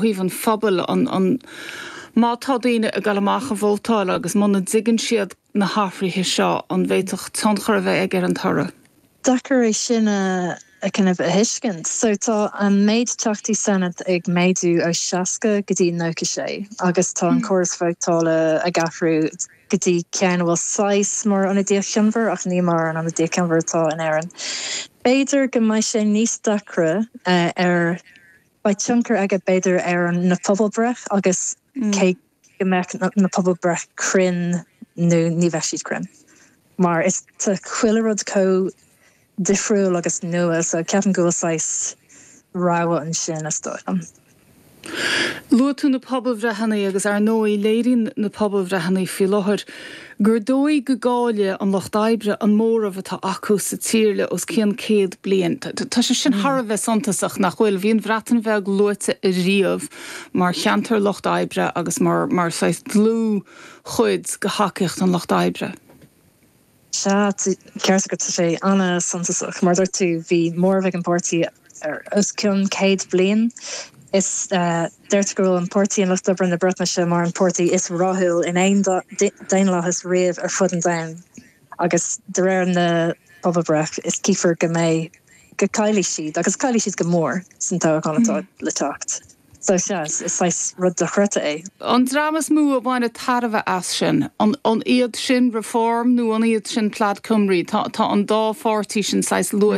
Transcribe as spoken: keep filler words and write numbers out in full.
thaobh an phobail an an má tá daoine ag dul amach a vótáil agus muna dtuigeann siad na hathruithe seo an bhféadfadh tionchar a bheith ag ar an toradh. Deacair é sin a a kind of a thuiscint. So tá an méid teachtaí Senate ag méadú ó seasca go dtí nócha sé agus tá an córas vótála ag athrú go dtí ceann bhfuil saghas mar ionadaíocht chionmhar ach ní mar an ionadaíocht chionmhar atá in Éirinn. B'fhéidir go mbeidh sé níos deacra uh, ar beidh tionchar aige b'fhéidir ar an na pobalbhreith agus mm. cé go mbeidh na, na pobalbhreith cruinn nó ní bheidh siad cruinn. Mar is tá chuile rud chomh difriúil agus nua so ceapaim go bhfuil saghas rogha ansin is dóigh liom. Luaigh tú na pobalbhreitheanna agus ar ndóigh léiríonn na pobalbhreitheanna faoi láthair gur dóigh go gcaillfidh an lucht oibre an móramh atá acu sa tír le os cionn céad bliain. Tá sé sin thar a bheith suntasach nach bhfuil bhí an Bhreatain Bheag luaite riamh mar cheantar lucht oibre agus mar mar saghas dlúthchuid de thacaíocht an lucht oibre. Sea ceart go sé an-suntasach mar dúirt tú bhí móramh ag an bpáirtí ar os cionn céad bliain. Is uh, deirtear go bhfuil an Páirtí an Lucht Oibre na Breatnaise mar an páirtí is rathúla in aon daonlathas riamh ar fud an domhain. agus de réir na pobalbhreith is cífear go mbeidh go gcaillfidh siad agus caillfidh siad go mór san toghchán atá mm. le teacht. So sea is is rud dochreidte é. An dream is mó a bhainfidh tairbhe as sin an an iad sin Reform nó an iad sin Plaid Cymru tá tá an dá pháirtí sin saghas luaite